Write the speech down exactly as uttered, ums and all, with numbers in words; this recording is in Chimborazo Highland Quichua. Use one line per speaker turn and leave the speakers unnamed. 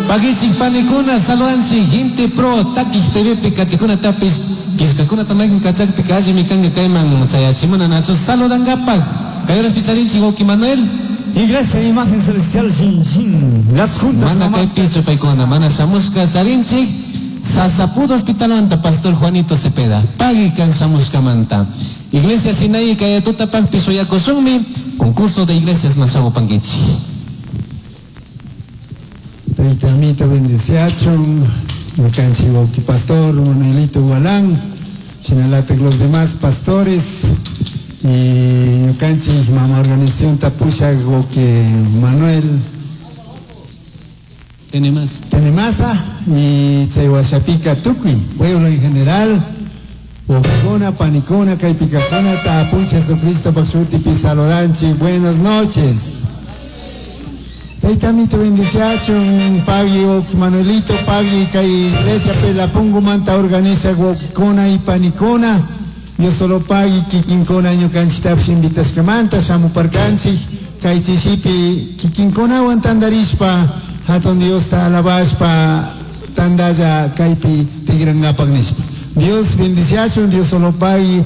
Pagichik panikuna saludanchik Inti Pro Takik T V katikuna tapis killkakuna maykan kachakpika allimi kanka kayman chayachimuna nachu saludankapak kay horaspi charinchik wawki Manuel.
Iglesia Imagen Celestial Shin, las juntas.
Mana kaypichu paykuna mana shamushka. Charinchik Sasapudo Hospitalmanta Pastor Juanito Cepeda, pagui kan shamushkamanta. Iglesia Sinai kay tutapakpi shuyakushunmi concurso de iglesias mashamupankichik.
Tayta Amito bendiciachun, ñukanchik wawki pastor Manuelito Gualán, shinalatak los demás pastores y ñukanchik mama organización pushak wawki Manuel
Tenemasa.
Tenemasa y chay washapika tukuy pueblo en general, wawkikuna, panikuna, kaypikakuna, apunchik Jesucristo shutipi saludanchik, buenas noches. Tayta Amito bendiciachun, pagui wawki Manuelito, pagui kay iglesia Pelapungumanta organiza wawkikuna y panikuna. Dios solo pagui kikinkuna ñukanchiktapish invitashkamanta shamuparkanchik kay chishipi kikinkunawan tandarishpa hatun Diosta alabashpa tandalla kaypi tigrangapak nishpa. Dios bendiciachun, Dios solo pagui.